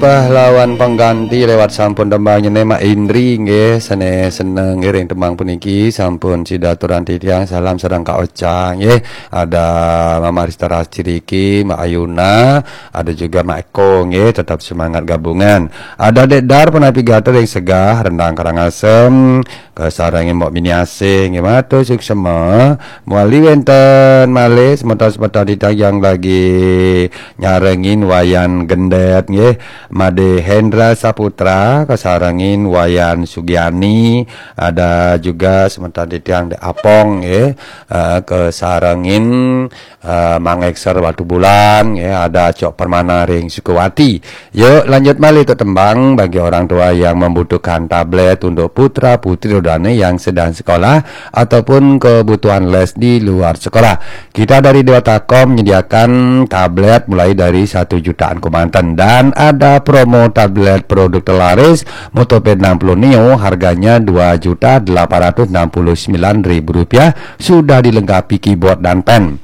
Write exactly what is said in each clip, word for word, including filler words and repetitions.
Pahlawan pengganti lewat sampun tembang nyené Mak Indri nggih, sané seneng ngiring tembang puniki sampun sida aturang titiang salam sareng Kak Ocha nggih. Ada Mama Rista Rastiriki, Mak Ayuna, ada juga Mak Eko nggih, tetap semangat gabungan. Ada Dek Dar Penapi Gater yang segah, Rendang Karangasem, kasarengin Mbok Mini Asih nggih, matur suksema. Muali wénten malih semeton-semeton titiang yang lagi nyarengin Wayan Gendet nggih, Made Hendra Saputra, kasarengin Wayan Sugiani, ada juga semeton titiang Dek Apong nggih, eh, kasarengin eh, Mang Ekser Batu Bulan, ya, ada Cok Permana ring Sukawati. Yuk, lanjut malih untuk tembang bagi orang tua yang membutuhkan tablet untuk putra putri dodane yang sedang sekolah ataupun kebutuhan les di luar sekolah. Kita dari Dewata Kom menyediakan tablet mulai dari satu jutaan kemanten dan ada promo tablet produk terlaris Motopad enam puluh Neo, harganya dua juta delapan ratus enam puluh sembilan ribu rupiah, sudah dilengkapi keyboard dan pen.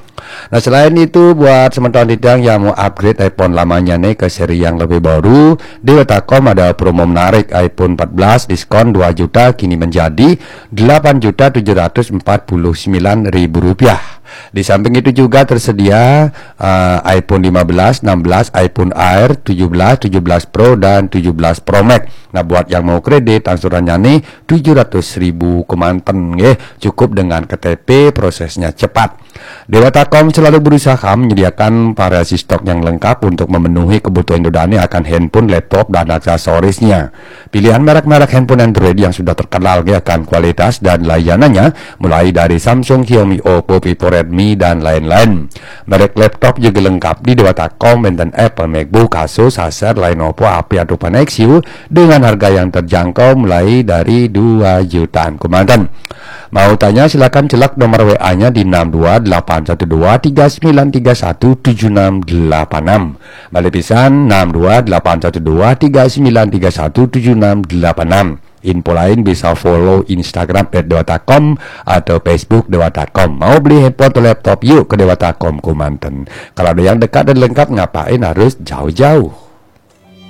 Nah, selain itu, buat semeton titiang yang mau upgrade iPhone lamanya nih ke seri yang lebih baru, di Dewata Kom ada promo menarik, iPhone empat belas diskon dua juta kini menjadi delapan juta tujuh ratus empat puluh sembilan ribu rupiah. Di samping itu juga tersedia eh, iPhone lima belas, enam belas, iPhone Air, tujuh belas, tujuh belas Pro, dan tujuh belas Pro Max. Nah, buat yang mau kredit, angsurannya nih tujuh ratus ribu kemanten, nggih. Cukup dengan K T P, prosesnya cepat. Dewata Kom selalu berusaha menyediakan variasi stok yang lengkap untuk memenuhi kebutuhan dodane akan handphone, laptop, dan aksesorisnya. Pilihan merek-merek handphone Android yang sudah terkenal, nggih, akan kualitas dan layanannya, mulai dari Samsung, Xiaomi, Oppo, Vivo, Redmi, dan lain-lain. Merek laptop juga lengkap di Dewata Kom, wénten Apple, MacBook, Asus, Acer, Lenovo, H P, atau Nexus dengan harga yang terjangkau mulai dari dua jutaan kemanten. Mau tanya, silakan celak nomor W A-nya di enam dua delapan satu dua tiga sembilan tiga satu tujuh enam delapan enam. Balik pisan, enam dua delapan satu dua tiga sembilan tiga satu tujuh enam delapan enam. Info lain bisa follow Instagram at dewata com atau Facebook Dewata Kom. Mau beli handphone atau laptop, yuk ke Dewata Kom kemanten. Kalau ada yang dekat dan lengkap, ngapain harus jauh-jauh?